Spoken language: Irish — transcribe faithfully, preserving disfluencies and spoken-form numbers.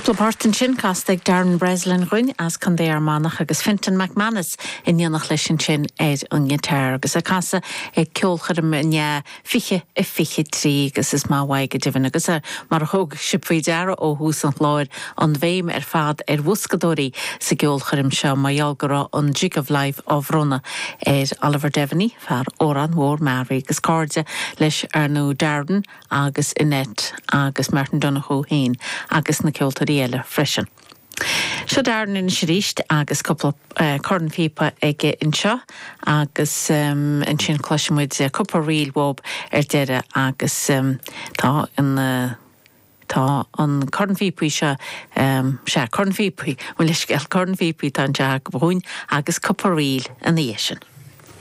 Cúpla port ansin casta ag Darren Breslin dhúinn as Contae Fhear Manach agus Fintan McManus in éineacht leis ansin ar an ngiotár agus ag casadh ag ceolchoirm inné fiche a fiche trí agus is maith uaidh go deimhin agus mar a thug sibh faoi deara ó thús an chláir an bhéim ar fad ar bhoscadóirí sa gceolchoirm seo mar gheall go raibh an Jig of Life á bhronnadh ar Oliver Devaney fear Órán Mór Mearaí agus cairde leis ar ndóigh Darren agus Annette agus Martin Donoghue féin agus na ceoltóirí eile freisin. Seo Darren anois arís agus cúpla uh, cornphíopa aige anseo agus um, ansin cloisfimid cúpla ríl uaidh ar deireadh agus um, tá an uh, Tá an cornphíopaí seo um, sé cornphíopaí leisceil cornphíopaí tá an te bhúin agus cúpla ríl ina dhiaidh sin.